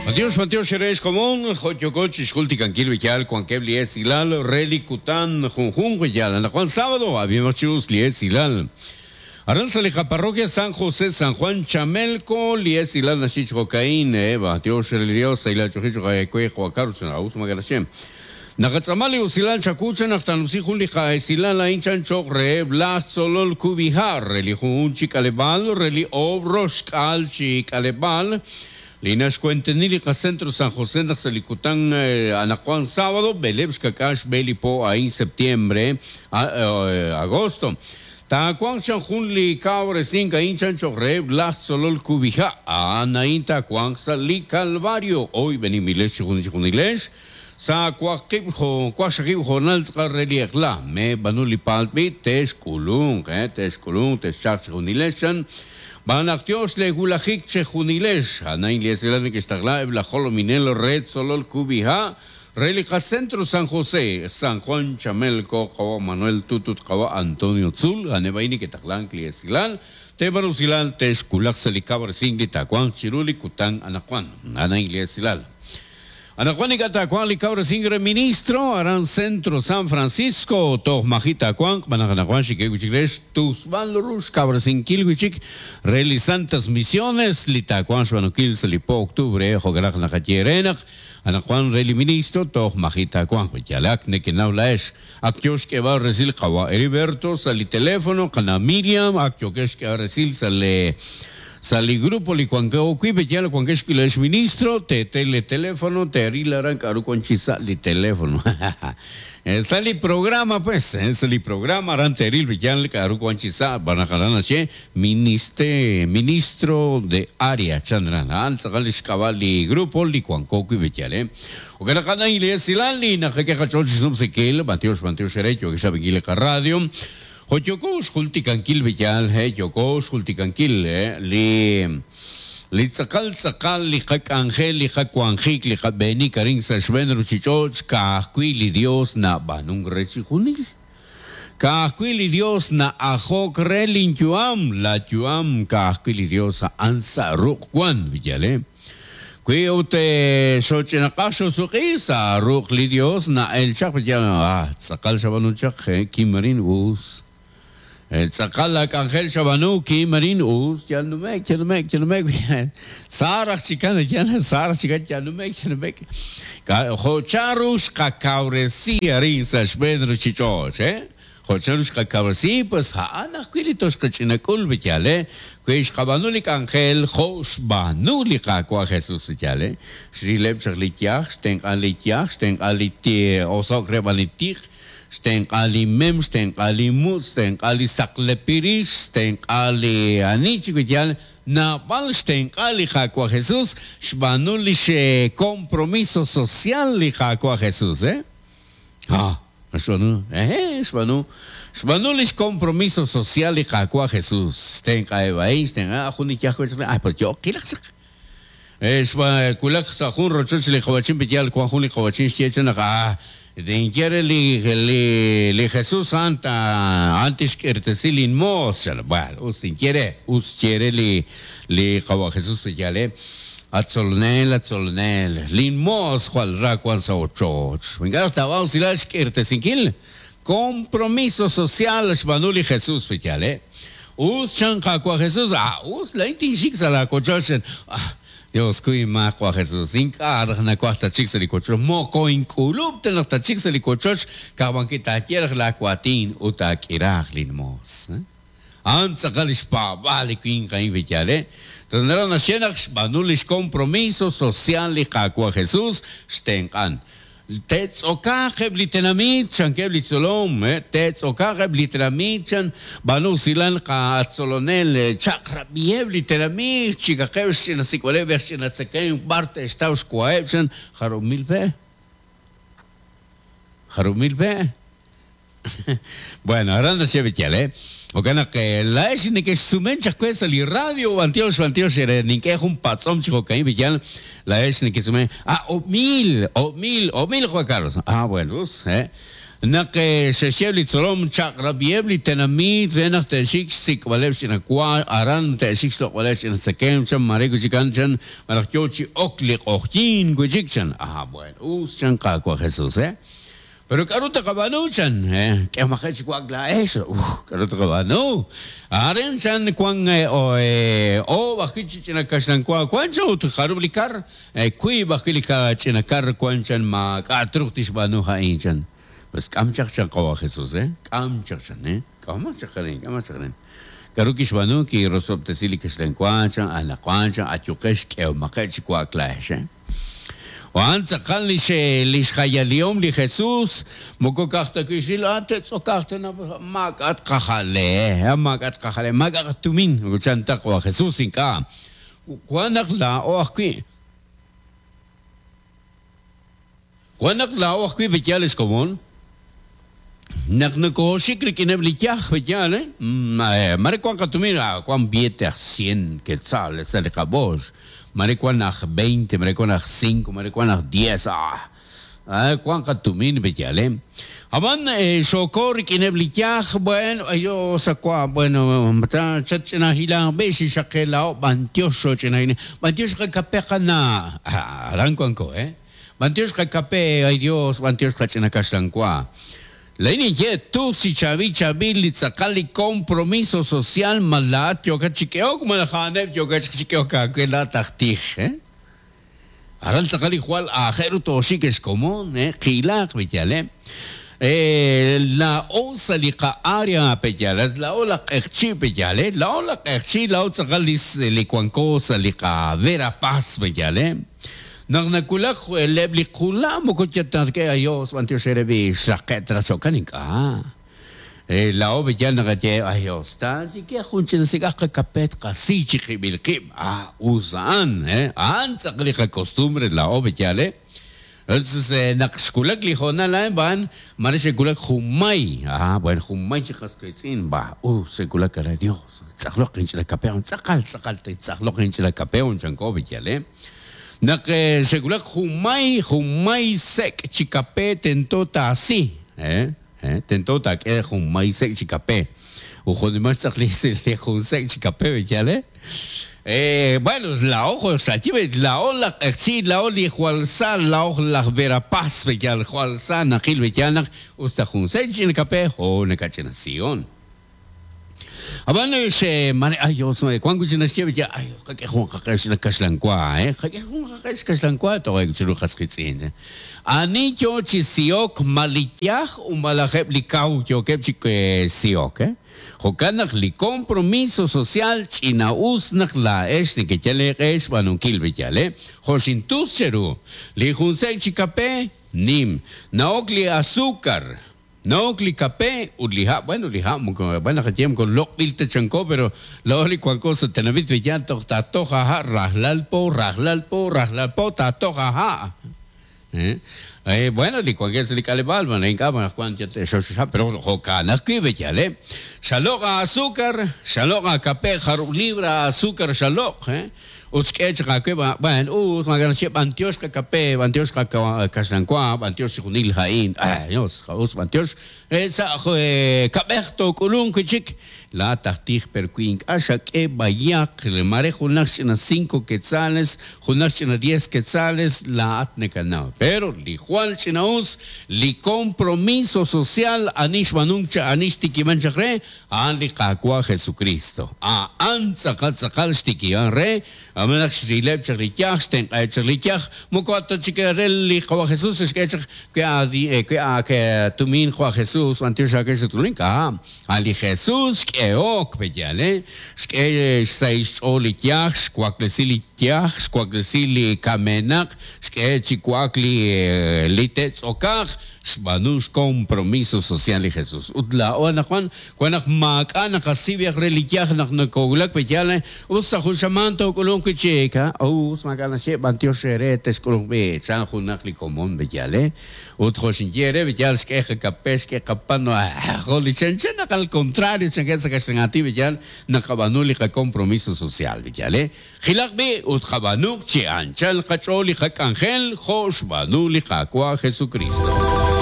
B'antiox, b'antiox eere xkomon, jo' yooko chixjultikankil li yaal wankeb' li esilal re li kutan junjunq li yaal. Anaqwan sábado, ab'imaq chi us li esilal. Aran sa' li qaparroquia San José San Juan Chamelco, li esilal naxye chi jo'ka'in, B'antiox re li Dios, sahil aach'oolejil cho'q aawe, Juan Carlos, us maak'a' naxye. Naqatz'aama li usilal chawu chan naq taanumsi jun li qa'esilal a'in chan cho'q reheb' laj tzolol kub'iha' re li junjunq chi k'aleb'aal re li oob' roxk'aal chi k'aleb'aal li naxwenteni li qacentro San José naq sa' li kutan anaqwan sábado b'eleeb' xkak'aal xb'e li po a'in septiembre agosto taawanq chan jun li kawresink a'in chan cho'q reheb' laj tzolol kub'iha' a'an a'in taawanq sa' li Calvario oyb'eninb'ilex chi junjunilex Sa' waqib' waqxaqib' hoonal tz'aqal re li eq'la, meeb'aanu li paaltb'i, texk'ulunq, texk'ulunq, texchalq chejunilex, chan. Xb'aan naq yoox leewulajik chejunilex. A'an li esilal neke'xtaqla eb' laj jolominel re tzolol kub'iha' re li qacentro San José, San Juan Chamelco, qawa' Manuel Tut ut qawa' Antonio Tzul, a'aneb' a'in neke'taqlank li esilal, teeb'aanu usilal, texwulaq sa' li kawresink li taawanq chiru li kutan anaqwan. A'an a'in li esilal. Anaqwan ink'a' taawanq li kawresink re ministro aran Centro San Francisco, toj maji' taawanq, b'an naq anaqwan xik'e wi' chik re xtusb'al ru xkawresinkil wi' chik re li Santas Misiones li taawanq xb'aanunkil sa' li po octubre, jo'kan naq naqaye eere naq anaqwan re li ministro toj maji' taawanq. Yal ak nekenaw laa'ex, ak yoo xk'eeb'al resil qawa' Heriberto sa' li teléfono, qana' Miriam, ak yookex xk'eeb'al resil sa' le sa' li grupo li wanko wi', pe'yaal wankex wi' laa'ex ministro, teete le teléfono, teeril aran k'a'ru wan chi sa' li teléfono. Sa' li programa pues, sa' li programa aran teeril pe'yaal k'a'ru wan chi sa' xb'aan naq aran naxye ministe, ministro de área chan aran, a'an tz'aqal li xk'ab'a' li grupo li wanko wi' pe'yaal. Jo'kan naq a'an a'in li esilal li naqak'e qach'ool chi xnumsinkil, b'antiox, b'antiox eere yookex rab'inkil li qaradio. Jo' yooko xjultikankil li yaal, he, yooko xjultikankil li li tz'aqal tz'aqal li qak'anjel, li qawanjik, li qab'eenik arin sa' xb'een ruchich'och', ka'ajwi' li Dios nab'aanunk re chixjunil. Ka'ajwi' li Dios na'ajok re lin yu'am, la yu'am ka'ajwi' li Dios a'an sa' ruq' wan, yaal, he. Wi ut xooch'inaq'aj xoosuq'i sa' ruq' li Dios na'el chaq, yaal, ah, tz'aqal xab'aanu chaq, he, kim arin, us. Tz'aqal laak'anjel xab'aanu, kim arin, us, yal nume'k, yal nume'k, yal nume'k, sa raj chikan, yaal, sa raj chikan, yal nume'k, yal nume'k. Jo' chanru xqakawresi arin sa' xb'een ruchich'och', he? Jo' chanru xqakawresi, pues a'an ajwi' li toxqach'inak'ul, yaal, he? Wi xqab'aanu li k'anjel jo' xb'aanu li Qaawa' Jesus, yaal, he? Xrileb' chaq li yaj, xtenq'a li yaj, xtenq'a li oso'k re b'an li tiq, xtenq'a li mem, xtenq'a li mutz', xtenq'a li saqlepirix, xtenq'a li ani chik, yaal, Naab'al xtenq'a li Qaawa' Jesus xb'aanu lix compromiso social li Qaawa' Jesus, eh? Ha, xb'aanu, ehe, xb'aanu. Xb'aanu lix compromiso social li Qaawa' Jesus. Xtenq'aheb' a'in, xtenq'a jun li yaj wech, ah, pues yo'q qilaq chaq. Xwulak sa' jun rochoch li qawa'chin pe'yaal wank jun li qawa'chin xye che naq ah, tinye re li li li Jesús a'an ta a'an tixk'irtesi linmoos chan. Bueno, us tinye re, us xye re li li qawa' Jesús pe'yaal eh, At Tzolonel, at Tzolonel, linmoos jwal ra wank sa' ochoch. Ink'a' raj taab'aanu usilal xk'irtesinkil. Compromiso social xb'aanu li Jesús pe'yaal eh. Us chan Qaawa' Jesús, ah, us laa'in tinxik sa' laawochoch chan. Ah, Dios kuy inmaak Qaawa' Jesús, ink'a' raj nawaj tatxik sa' li wochoch, moko ink'ulub' ta naq tatxik sa' li wochoch, ka'ajwi' taaye raj laawaatin ut taak'iraaq linmoos. A'an tz'aqal li xpaab'aal li winq a'in pe'yaal eh. Toj naraj naxye naq xb'aanu li xcompromiso social li Qaawa' Jesús, xtenq'an. Te'tz'okaaq eb' li tenamit, chankeb' li tzolom, te'tz'okaaq eb' li tenamit, chan, b'aanu usilal qatzolonel, chaq'rab'iheb' li tenamit, chikaqeb' xch'ina sik'b'aleb' re xch'ina tzekemq b'ar te'xtaw xwaheb', chan, jarub' mil pe'? Jarub' mil pe'? Bueno, aran naxye b'iyal, eh? Jo'kan naq laa'ex nekexsumen chaq we sa' li radio, b'antiox, b'antiox eere, nink'e jun patz'om chi jo'ka'in b'iyal, laa'ex nekesumen, ah, o'mil, o'mil, o'mil, Juan Carlos. Ah, bueno, us, eh? Naq xe'xye li tzolom chaq'rab'iheb' li tenamit re naq te'xik xsik'b'aleb' xch'ina wa aran te'xik xloq'b'aleb' xch'ina tzekemq chan mare wi' chik a'an chan malaj yo chi ok li q'oqyink wi' chik chan. Ah bueno, us chan Qaawa' Jesús, eh. Pero k'aru taqab'aanu chan, eh, k'ehomaqeb' chi wa'ak laa'ex, uf, k'aru taqab'aanu. Arin chan wan oob' ajwi' chi ch'ina kaxlan wa wan chan ut jarub' li kar, wiib' ajwi' li ch'ina kar wan chan maak'a' truuq tixb'aanu a'in chan. Pues k'am chaq chan Qawa' Jesús, eh, k'am chaq chan, eh, k'ahomaq chaq arin, k'ahomaq chaq arin. K'aru kixb'aanu? Kirosob'tesi li kaxlan wa chan, anaqwan chan ayuqex k'ehomaqeb' chi wa'ak laa'ex, eh. A'an tz'aqal lix lix jayalihom li Jesús, moko ka'aj ta wi' xril, ah, te'tz'okaq tana, maak'a' tqajale, eh, maak'a' tqajale, maak'a' qatumin, moko chan ta Qawa' Jesús, ink'a'. Wan naq laa'o ajwi'. Wan naq laa'o ajwi' pe'yaal ex komon, naq nokooxik rik'ineb' li yaj, pe'yaal, eh? Mare wan qatumin, wan billete aj cien quetzales sa' li qab'oox, mare wan aj veinte, mare wan aj cinco, mare wan aj diez, ah, wan qatumin, pe'yaal, eh? Ab'an xooko rik'ineb' li yaj, bueno, ayo sa' wa, bueno, chatch'ina hilanq b'i' xixaqe laa'o, b'antiox xooch'ina hilank, b'antiox qakape qana', aran wanko, eh? B'antiox qakape, ay Dios, b'antiox qach'ina kaxlan wa. Laa'in ninye, tus chi chaab'il chaab'il li tz'aqal li compromiso social ma laa'at yookat chi k'ehok malaj a'aneb' yookat chaq chi k'ehok aawe laa'at aj tij, eh? Aran tz'aqal li jwal aajel ru tooxik ex komon, eh, qiilaq b'iyal, eh? Laa'o sa' li qa-área pe'yaal, laa'o laj q'eqchi' pe'yaal, eh? Laa'o laj q'eqchi', laa'o tz'aqal li li wanko sa' li qa-Verapaz pe'yaal, eh? Naq nawulak eb' li qula' moko yal ta k'e Ayos b'antiox eere b'i' xraqe' ta raj jo'kan ink'a'. Laa'o b'iyal naqaye Ayos taachike jun ch'ina sik'aj qakape tqasi chi qib'il qib', ah us a'an, a'an tz'aqal li qakostumbre laa'o b'iyal eh. Entonces naq xwulak li hoonal a'in b'an mare xe'wulak junmay, ah bueno junmay chi qas qiitz'in, bah us xe'wulak aran Dios tz'aqloq inch'ina kape tz'aqal tz'aqal tz'aqloq inch'ina kape chanko b'iyal eh. Naq xe'wulak junmay, junmay sek' chi kape tento taasi, eh, eh, tento taak'e junmay sek' chi kape. Ut jo'nimal xtz'aq li jun sek' chi kape, b'iyal, eh? Eh, bueno, laa'o jo' xaye, laa'o laj q'eqchi', laa'o li jwal sa, laa'o laj Verapaz, b'iyal, jwal sa naqil, b'iyal, naq us ta jun sek' chi kape, ho nakach'ina sion. Ab'an xe'mare ay Dios wan wi' chik naxye ye ay qak'e jun qaq'e xkaxlan wa eh qak'e jun qaq'e xkaxlan wa toje' chiru qas qiitz'in. Ani yo chi sihok ma li yaj u malaj eb' li kaw yookeb' chi sihok eh. Jo'kan naq li compromiso social ch'ina'us naq laa'ex nekeyal eeq'e xb'aanunkil b'eyal eh. Jo' xintus cheru, li jun sek' chi kape nim, na'ok li azúcar. Na'ok li kape ut li ha', bueno li ha' moko bueno naqaye moko loq'b'il ta chanko pero laa'o li wanko sa' tenamit Villar toj taatoj aaha' rajlal po, rajlal po, rajlal po taatoj aaha'. Eh, bueno li wankeb' sa' li k'aleb'aal bueno ink'a' anaqwan yal te'xox ha' pero jo'kan ajwi' b'eyal eh. Xaloq' aazúcar, xaloq' aakape jarub' libra aazúcar xaloq', eh. Ut xk'e chaq aawe, b'an us, maak'a' naxye, b'antiox qakape, b'antiox qakaxlan wa, b'antiox chixjunil a'in, Dios, us b'antiox, sa' kab'ej took'ulunq wi' chik. Laa'at aj tij per wi ink'a' xak'e b'ayaq, mare junaq ch'ina cinco quetzales, junaq ch'ina diez quetzales, laa'at nakanaw. Pero li jwal ch'ina-us, li compromiso social ani xb'aanunk chaq, ani xtikib'an chaq re, A'an li Qaawa' Jesukristo. A'an tz'aqal tz'aqal xtikihan re, ab'an naq xrileb' chaq li yaj, xtenq'aheb' chaq li yaj, moko a ta chik re li Qawa' Jesus xk'e chaq we a we a tumin Qawa' Jesus, b'antiox aawe xat'ulunk, ink'a'. A' li Jesus xk'ehok, pe'yaal, eh? Xk'e xsahil xch'ool li yaj, xwaklesi li yaj, xwaklesi li kamenaq, xk'e chi wa'ak li li te'tz'okaq, Xb'aanu xcompromiso social li Jesús. Ut laa'o anaqwan, wan naq maak'a' naqasib'yaq re li yaj naq nokowulak pe yaal, us sa' jun xamaan took'ulunq wi' chik, ha? Us, maak'a' naxye, b'antiox eere texk'ulunq b'i', chan junaq li komon pe yaal, eh? Ut jo' xinye eere, pe yaal xk'e qakape, xk'e qapan, jo' li chanchan naq al contrario chankeb' sa' kaxlan aatin pe yaal naqab'aanu li qacompromiso social pe yaal, eh? Qilaq b'i' ut qab'aanuq chi anchal qach'ool li qak'anjel jo' xb'aanu li Qaawa' Jesukristo.